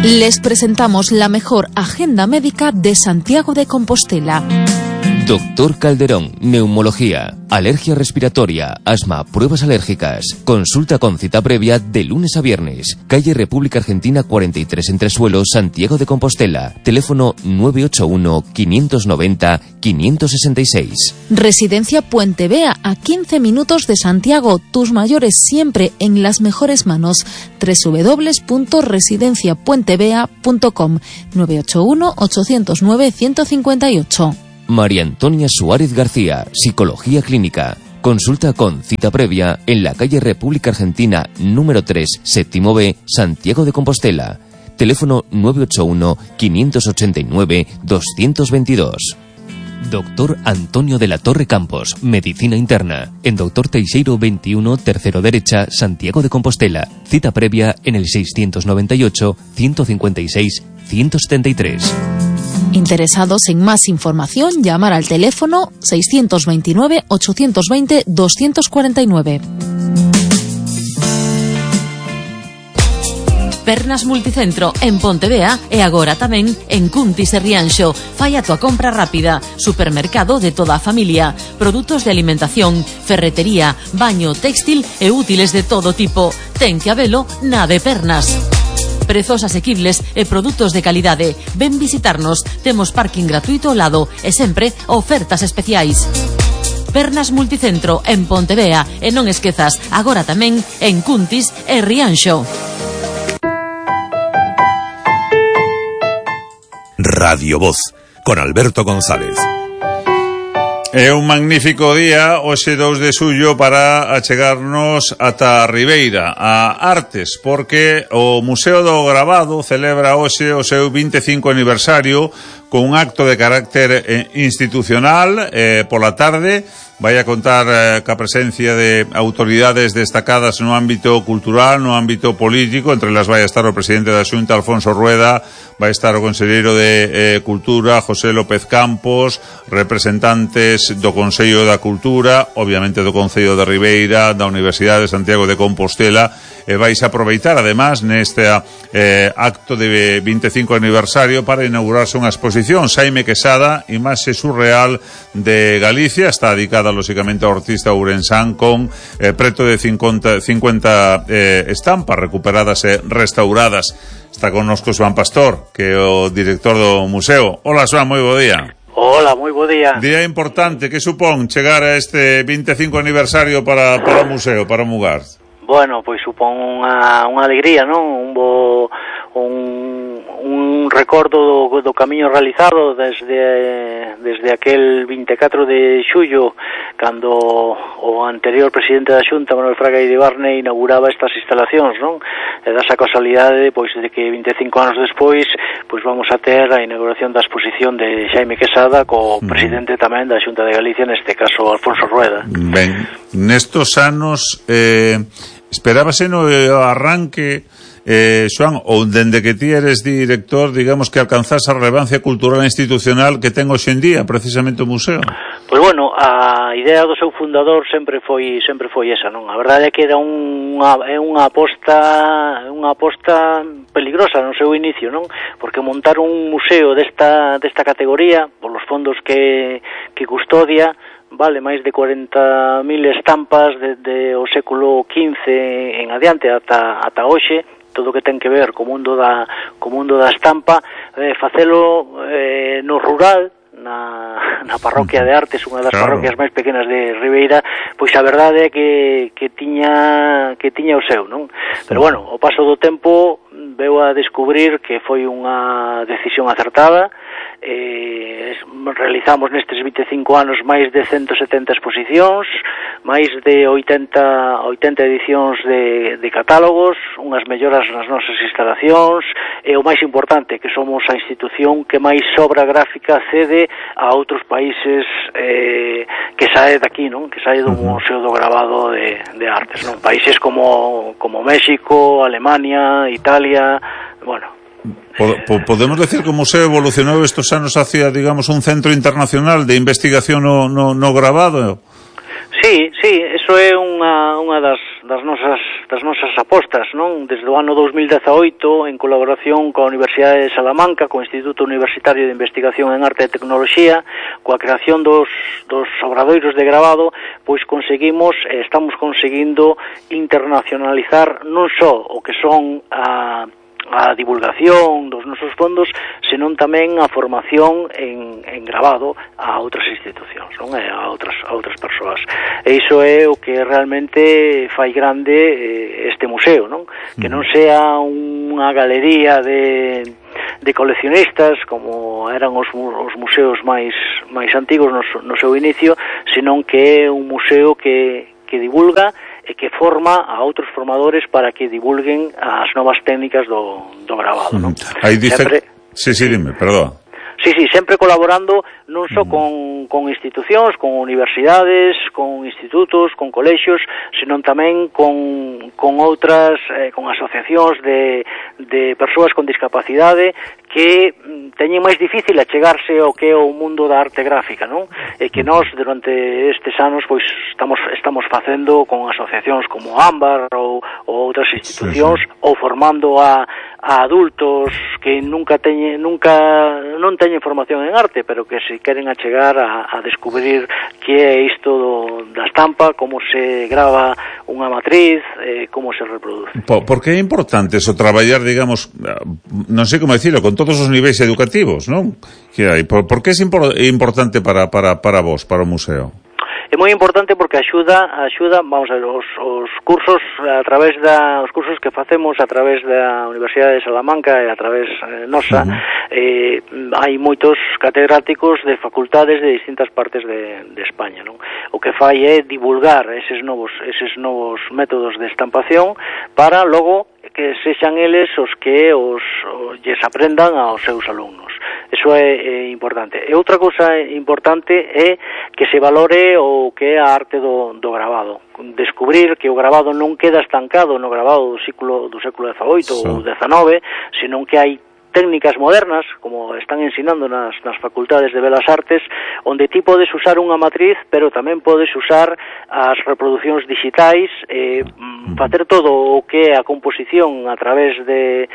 Les presentamos la mejor agenda médica de Santiago de Compostela. Doctor Calderón, neumología, alergia respiratoria, asma, pruebas alérgicas. Consulta con cita previa de lunes a viernes. Calle República Argentina 43 Entresuelo, Santiago de Compostela. Teléfono 981-590-566. Residencia Puente Vea, a 15 minutos de Santiago. Tus mayores siempre en las mejores manos. www.residenciapuentevea.com 981-809-158. María Antonia Suárez García, Psicología Clínica. Consulta con cita previa en la calle República Argentina número 3, séptimo B, Santiago de Compostela. Teléfono 981-589-222. Doctor Antonio de la Torre Campos, Medicina Interna. En Doctor Teixeiro 21, tercero derecha, Santiago de Compostela. Cita previa en el 628-156-173. Interesados en más información, llamar al teléfono 629-820-249. Pernas Multicentro en Pontevea e agora tamén en Cuntis e Rianxo. Fai a tua compra rápida. Supermercado de toda a familia. Produtos de alimentación, ferretería, baño, textil e útiles de todo tipo. Ten que habelo na de Pernas. Prezos asequibles e produtos de calidade. Ven visitarnos. Temos parking gratuito ao lado e sempre ofertas especiais. Pernas Multicentro en Pontevea e non esquezas, agora tamén en Cuntis e Rianxo. Radio Voz, con Alberto González. É un magnífico día, hoxe 2 de xullo, para achegarnos ata a Ribeira, a Artes, porque o Museo do Gravado celebra hoxe o seu 25 aniversario con un acto de carácter institucional pola tarde. Vai a contar ca presencia de autoridades destacadas no ámbito cultural, no ámbito político. Entre las vai a estar o presidente da Xunta, Alfonso Rueda, vai estar o conselleiro de Cultura, José López Campos, representantes do Consello da Cultura, obviamente do Concello de Ribeira, da Universidade de Santiago de Compostela, e vais a aproveitar además neste acto de 25 aniversario para inaugurarse unha exposición Xaime Quesada, imaxe surreal de Galicia. Está dedicada lógicamente ao artista ourensán, con preto de 50 estampas recuperadas e restauradas. Está connosco Xoán Pastor, que é o director do museo. Hola, Xoán, moi bo día. Hola, moi bo día. Día importante, que supón chegar a este 25 aniversario para o museo, para Mugar? Bueno, pois supón unha alegría, non? Un recordo do camiño realizado desde aquel 24 de xullo, cando o anterior presidente da Xunta, Manuel Fraga Iribarne, inauguraba estas instalacións, non? E dá esa casualidade, pois, de que 25 anos despois, pois vamos a ter a inauguración da exposición de Xaime Quesada co presidente tamén da Xunta de Galicia, neste caso Alfonso Rueda. Ben, nestos anos esperábase no arranque, Xoán, ou dende que ti eres director, digamos, que alcanzase a relevancia cultural e institucional que ten hoxe en día precisamente o museo? Pois bueno, a idea do seu fundador sempre foi esa, non? A verdade é que era unha aposta peligrosa no seu inicio, non? Porque montar un museo desta categoría, por los fondos que custodia, vale máis de 40.000 estampas desde o século XV en adiante ata hoxe, todo o que ten que ver co mundo da estampa, facelo no rural, na parroquia de Artes, unha das parroquias máis pequenas de Ribeira, pois a verdade é que tiña o seu, non? Pero bueno, o paso do tempo veu a descubrir que foi unha decisión acertada. Realizamos nestes 25 anos máis de 170 exposicións, máis de 80 edicións de catálogos, unhas melloras nas nosas instalacións, e o máis importante, que somos a institución que máis obra gráfica cede a outros países que sae daqui, non? Que sae do Museo do Gravado de Artes, non? Países como México, Alemania, Italia, bueno. Podemos decir que o museo evolucionou estos anos hacia, digamos, un centro internacional de investigación no gravado? Sí, eso é unha das nosas apostas, non? Desde o ano 2018, en colaboración coa Universidade de Salamanca, co Instituto Universitario de Investigación en Arte e Tecnoloxía, coa creación dos obradoiros de gravado, pois estamos conseguindo internacionalizar non só o que son a divulgación dos nosos fondos, senón tamén a formación en gravado a outras institucións, non? A outras persoas. E iso é o que realmente fai grande este museo, non? Que non sea unha galería de coleccionistas como eran os museos máis antigos no seu inicio, senón que é un museo que divulga e que forma a outros formadores para que divulguen as novas técnicas do gravado, non? Sí, dime, perdón. Sí, sempre colaborando non só con institucións, con universidades, con institutos, con colexios, senón tamén con outras, con asociacións de persoas con discapacidade que teñen máis difícil achegarse ao que é o mundo da arte gráfica, non? E que nós, durante estes anos, pois estamos facendo con asociacións como Ámbar ou outras institucións, ou formando a adultos que non teñen formación en arte, pero que se queren achegar a descubrir que é isto da estampa, como se grava unha matriz, como se reproduce. Por que é importante eso, traballar, digamos, non sei como decirlo, con todos os niveis educativos, non? Que hai? Por que é importante para vos, para o museo? É moi importante porque axuda, vamos a ver, os cursos os cursos que facemos a través da Universidade de Salamanca e a través nosa, hai moitos catedráticos de facultades de distintas partes de España, non? O que fai é divulgar eses novos métodos de estampación para logo que sexan eles os que lles aprendan aos seus alumnos. Eso é importante. E outra cousa importante é que se valore o que é a arte do gravado. Descubrir que o gravado non queda estancado no gravado do século XVIII ou XIX, senón que hai técnicas modernas, como están ensinando nas facultades de Belas Artes, onde ti podes usar unha matriz, pero tamén podes usar as reproduccións digitais, facer todo o que é a composición a través de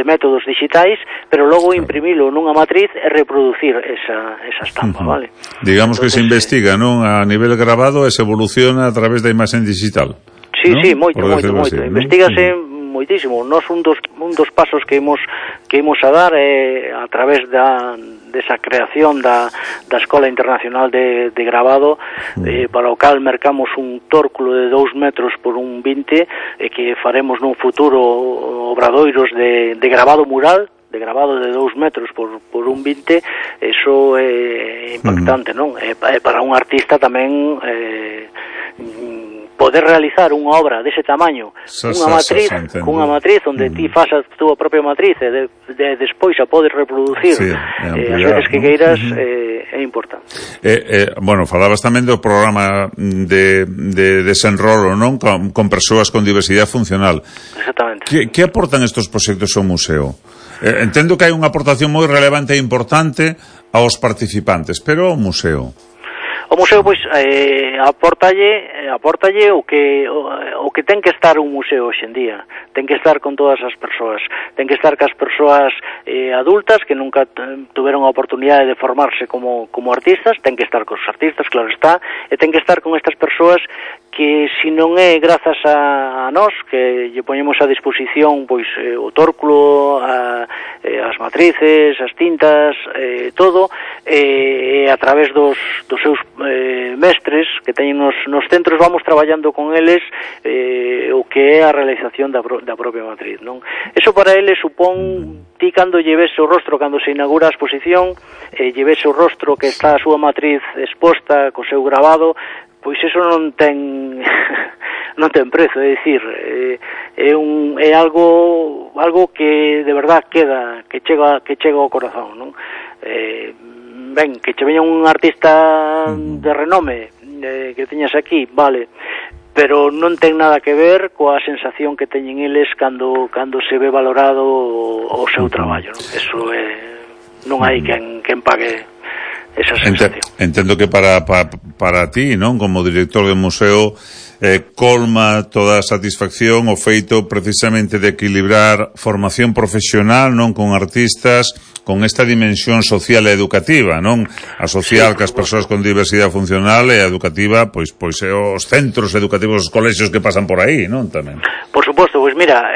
métodos digitais, pero logo imprimilo nunha matriz e reproducir esa estampa, vale? Digamos que se investiga, non? A nivel grabado e se evoluciona a través da imaxen digital. Sí, moito. Investígase moitísimo. Nós un dos pasos que imos a dar é a través desa creación da Escola Internacional de Gravado, para o cal mercamos un tórculo de 2 metros por 1,20 e que faremos nun futuro obradoiros de gravado mural, de gravado de 2 metros por 1,20. Eso é impactante, non? É para un artista tamén poder realizar unha obra dese tamaño, cunha matriz onde ti fas a túa propia matriz e despois a podes reproducir as veces que queiras, é importante. Bueno, falabas tamén do programa de desenrolo, non? Con persoas con diversidade funcional. Exactamente. Que aportan estes proxectos ao museo? Entendo que hai unha aportación moi relevante e importante aos participantes, pero ao museo? O museo, pois, apórtalle o que ten que estar un museo hoxe en día. Ten que estar con todas as persoas. Ten que estar cas persoas adultas que nunca tuveron a oportunidade de formarse como artistas. Ten que estar cos artistas, claro está. E ten que estar con estas persoas que, se non é grazas a nós, que lle poñemos a disposición, pois, o tórculo, as matrices, as tintas, todo, a través dos seus mestres que teñen nos centros, vamos traballando con eles o que é a realización da propia matriz, non? Eso para eles supón, ti cando lleves o rostro, cando se inaugura a exposición, lleves o rostro que está a súa matriz exposta co seu gravado, pois eso non ten prezo, é dicir, é algo que de verdad queda, que chega ao corazón, non? Ben, que che veña un artista de renome que teñas aquí, vale, pero non ten nada que ver coa sensación que teñen eles cando se ve valorado o seu traballo, non? Eso non hai quen pague sensación. Entendo que para ti, non, como director do museo, colma toda a satisfacción o feito precisamente de equilibrar formación profesional, non, con artistas, con esta dimensión social e educativa, non? A social que as persoas con diversidade funcional e a educativa, pois os centros educativos, os colexios que pasan por aí, non, tamén. Por suposto, pois mira,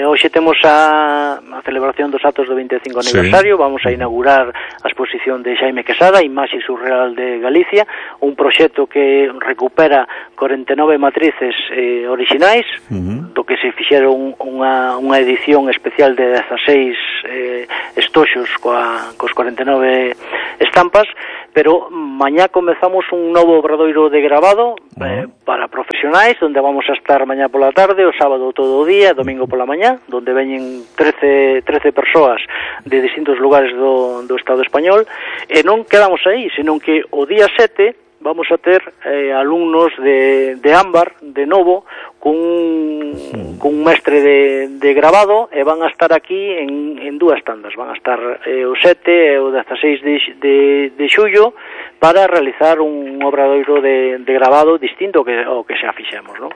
hoxe temos a celebración dos actos do 25 aniversario, vamos a inaugurar a exposición de Xaime Quesada, Imaxe Surreal de Galicia, un proxecto que recupera 49 matrices orixinais, do que se fixeron unha edición especial de 16 estoxos cos 49 estampas, pero mañá comezamos un novo obradoiro de grabado para profesionais, onde vamos a estar mañá pola tarde, o sábado todo o día, domingo pola mañá, onde veñen 13 persoas de distintos lugares do Estado español, e non quedamos aí, senón que o día 7 vamos a ter alumnos de Ámbar, de novo, cun mestre de grabado, e van a estar aquí en dúas tandas. Van a estar o 7 e o 16 de xullo para realizar un obradoiro de grabado distinto ao que xa fixemos, non?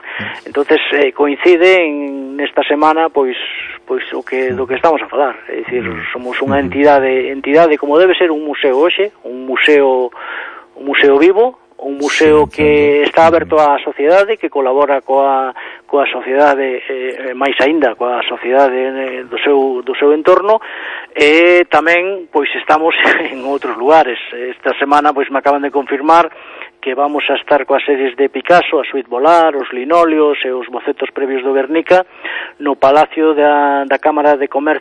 Entonces coincide nesta semana pois do que estamos a falar, é dicir, somos unha entidade como debe ser un museo hoxe, un museo vivo, un museo que está aberto á sociedade, que colabora coa sociedade, máis aínda coa sociedade do seu entorno, e tamén pois estamos en outros lugares. Esta semana pois me acaban de confirmar que vamos a estar coas series de Picasso, a Suite Volar, os linóleos e os bocetos previos do Guernica no Palacio da Cámara de Comercio